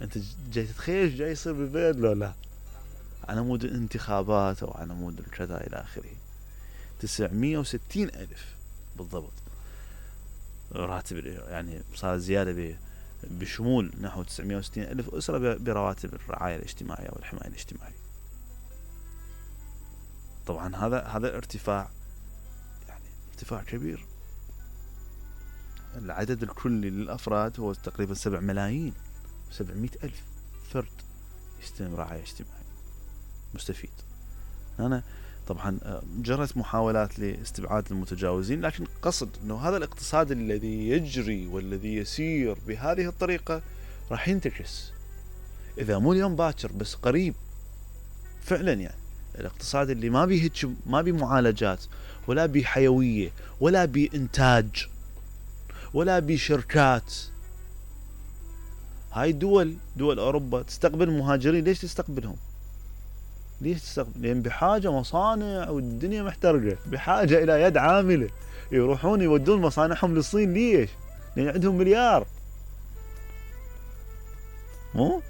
انت جاي تتخيل ايش جاي يصير بالبلد لو لا؟ على مود الانتخابات او على مود الكذا الى اخره. 960 ألف بالضبط راتب، يعني صار زيادة بشمول نحو 960 ألف أسرة برواتب الرعاية الاجتماعية والحماية الاجتماعية. طبعا هذا ارتفاع، يعني ارتفاع كبير. العدد الكلي للأفراد هو تقريبا 7 ملايين 700 ألف فرد يستلم رعاية اجتماعية مستفيد. أنا طبعا جرت محاولات لاستبعاد المتجاوزين، لكن قصد أنه هذا الاقتصاد الذي يجري والذي يسير بهذه الطريقة راح ينتكس إذا مو اليوم باكر بس قريب. فعلا يعني الاقتصاد اللي ما بيه ما بيه معالجات ولا بيه حيوية ولا بيه إنتاج ولا بيه شركات. هاي دول أوروبا تستقبل مهاجرين، ليش تستقبلهم؟ ليش تستقبل؟ لأن بحاجة مصانع والدنيا محترقة، بحاجة إلى يد عاملة يروحون يودون مصانعهم للصين. ليش؟ لأن عندهم مليار. مو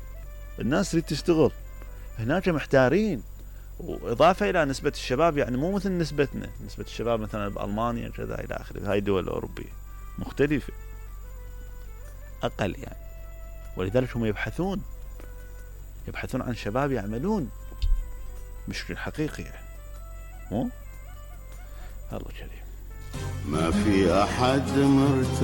الناس اللي تشتغل هناك محتارين. وإضافة إلى نسبة الشباب، يعني مو مثل نسبتنا، نسبة الشباب مثلا بألمانيا كذا إلى آخره. هاي الدول الأوروبية مختلفة أقل يعني، ولذلك هم يبحثون عن شباب يعملون بشكل حقيقي يعني. مو الله كريم. ما في أحد مرتاح